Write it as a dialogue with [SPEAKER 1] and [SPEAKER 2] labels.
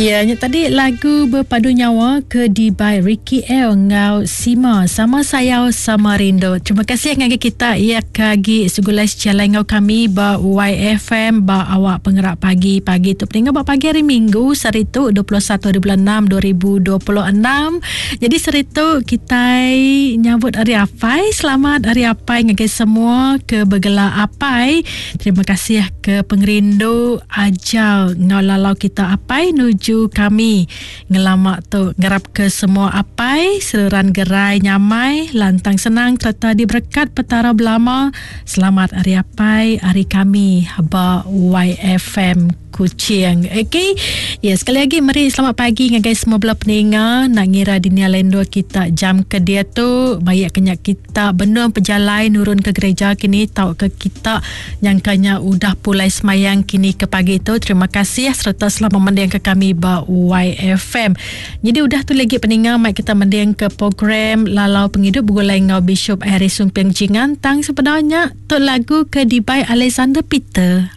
[SPEAKER 1] Ya, nya tadi lagu Bepadu Nyawa ke dibai Ricky L enggau Sima. Sama sayau, sama rindu. Terima kasih ngagai kita iya ke agi segulai sejalai enggau kami ba YFM ba awak pengerak pagi pagi tu. Peninggal ba pagi hari Minggu sehari tu 21 hari bulan 6 2026. Jadi sehari tu kitai nyambut Hari Apai. Selamat Hari Apai ngagai semua ke begela apai. Terima kasih ke pengerindu ajar enggau lalau kita apai nuju kami ngelama tu. Ngarap ke semua apai seruran gerai nyamai, lantang senang sereta diberekat Petara belama. Selamat Hari Apai ari kami ba YFM. Kuching. Okey. Ya, sekali lagi meri selamat pagi ngagai semua bala peninga. Nak ngira dini alai endur kita jam ke diatu, baik ke nya kita benung pejalai nurun ke gereja kini tauka kita nyangka nya udah pulai semayang kini ke pagi tu. Terima kasih sereta selamat mending ke kami ba YFM. Nyadi udah tu lagi peninga mai kita mending ke program Lalau Pengidup begulai enggau Bishop Harry Sumping Jingan tang sebenarnya tu lagu ke dibai Alexander Peter.